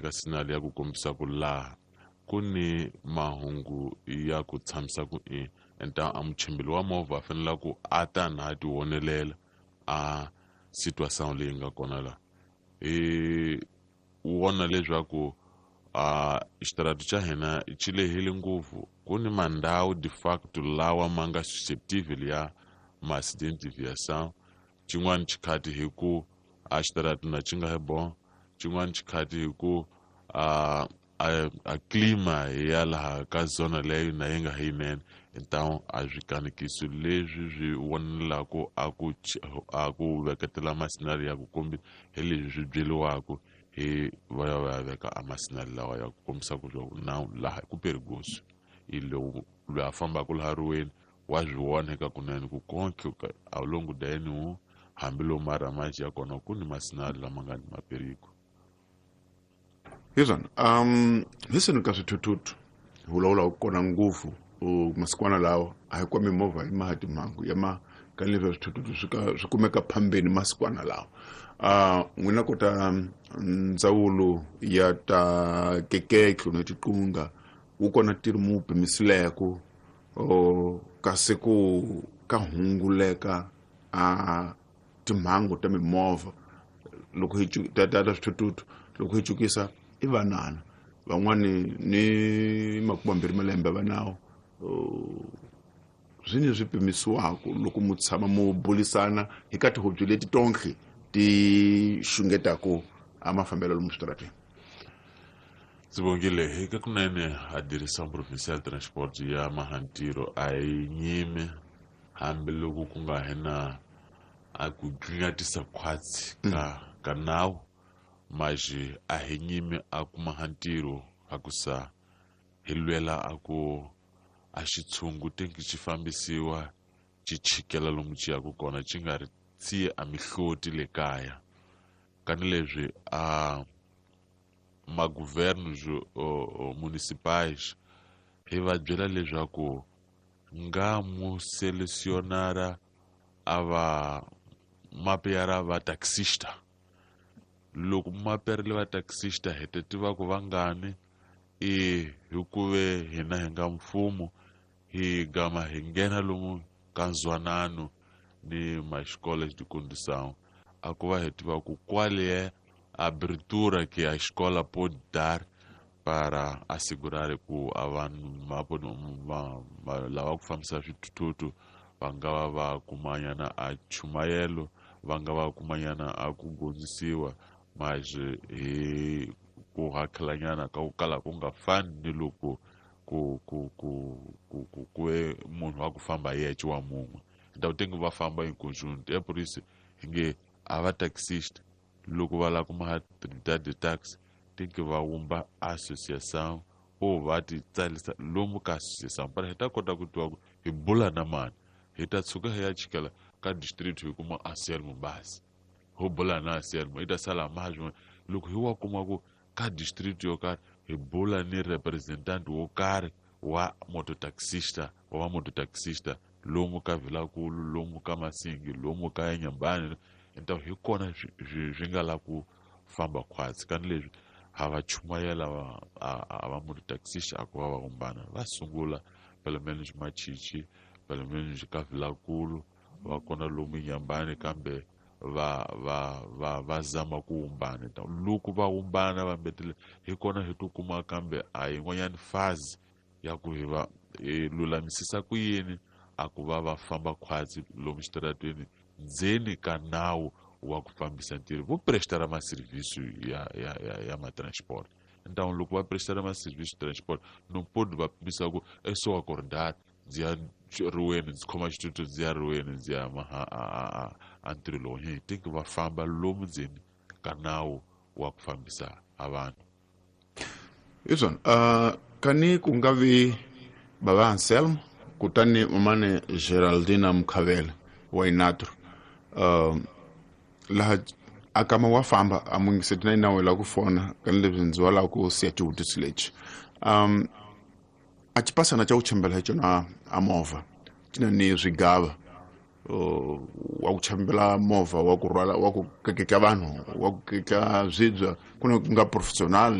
veka signal ya ku kombisa ku laha ku ni mahungu ya ku tshamisa ku i enta a muchimbili wa movha a fanele ku a ta na a ti vonelela a situation leyi nga kona laha. Hi vona leswaku a xitarati xa hina xi lehile ngopfu, ku ni mandhawu de facto lawa ma nga susceptible ya ma-accident de viação. Xin'wana xikhati hi ku a xitarati na xi nga hi bon, xin'wana xikhati hi ku a clima ya laha ka zona leyo na yi nga hi yinene. Então a swikanekiso leswi swi vonelaku a ku veketela masinali ya ku kombisa hi leswi swi byeliwaku hi va ya va ya veka a masinali lawa ya ku kombisa ku na laha ku perigoso i lowu loyi a fambaka laha riweni wa swi vona eka kunene ku konke ao longo da N1 hambi mara ya kona ku ni masinali lama nga ni maperigo. Hi swona, hi swini ka swithuthuthu hi vulavula kona ngopfu masikwana lawa a hi kwa mimovha yi maha timhangu ya ma ka leswi swithuthuthu swi ka swi kumeka phambeni masikwana lawa. N'wina kota ndzawulo ya ta keketlo na tiqunga wu kona ntirho mu pimisileko kasi ku ka hunguleka a timhangu ta mimovha loko hi ta swithuthuthu loko hi cukisa i vanana van'wani ni 20 malembe va nawo, swi ni swi pimisiwaka loko mu tshama mu bulisana hi ka tihobyi leti tonke ti xungetaku a mafambelo lomu switarateni? Sibongile, hi ka kunene a Direção Provincial Transport ya Mahantiro a yi nyimi hambiloko ku nga hi na a ku dlingatisa khwatsi ka nawu, mas a hi nyimi a ku maha ntirho a ku sa hi lwela a ku a xitshungu tenki xi fambisiwa xi chikela lomu xi yaka kona xi nga ri tsiye a mihloti le kaya. Kani leswi a magovernos municipais hi va byela leswaku nga mu selecionara a va mapeyara va taxista, loko maperile va taxista hi ta tiva ku vangani i hikuve hina hi nga mfumo hi gama hi nghena lomu ka nzwanano ni ma-escolas de condução a ku va hi tiva ku qual é a abertura que a escola pode dar para assegurar ku a vanhu lava ku fambisa swithuthuthu va nga va va kumanyana a chumayelo, va nga va kumanyana a ku gondzisiwa, mas hi ku hakelanyana ka ku kala ku nga fani ni loko ku ve munhu wa ku famba yexe wa mun'we ndhawu tenge va famba em conjunto. É por isso hi nge a va taxista loko va lava ku maha Trinidad de taxi tem que va wumba associação ou va ti tsarisa lomu ka associação para hi ta kota ku tiva ku hi bula na mani. Hi ta tshuka hi ya chikela ka district hi kuma Anselmo Basi ho bula na Anselmo i ta sala maha swin'wana. Loko hi wa kuma ku ka district yo karhi hi bula ni representant wo karhi wa mototaxista wa va mototaxista lomu ka Vilakulu, lomu ka Masingi, lomu ka Nyambani, então hi kona swi nga la ku famba khwatsi. Kani leswi ha va chumayela a va mototaxista a ku va va kumbana va sungula pelo menos Machichi, pelo menos ka Vilakulu, va kona lomu Nyambani, kambe va zama ku wumbana. Loko va wumbana va mbetele hi kona hi to kuma kambe a yin'wanyani fazi ya ku hi va hi lulamisisa ku yini a ku va va famba khwatsi lomu xitarateni ndzeni ka nawu wa ku fambisa ntirho vo prestara maserviço ya matransport. Então loko va prestara maserviço transport não pode va pimisa ku é só acordar ndzi ya riweni ndzi khoma xitutu ndzi ya riweni ndzi ya maha a ntirho lowu hi tinki va famba lomu ndzeni ka nawu wa ku fambisa a vanhu. Hi swona, kani ku nga vi bava Anselmo kutani mamane Geraldina Mukhavele wa Inatro, laha a kama wa famba a mungiseti na inawe la ku fona kani leswi ndzi wa lava ku siya xivutiso lexi, a xipasana xa ku chembela hi xona a movha ti na ni swigava, wa ku chambela movha wa ku rhwala, wa ku keketla vanhu, wa ku keketla swibya, ku na ku nga professional.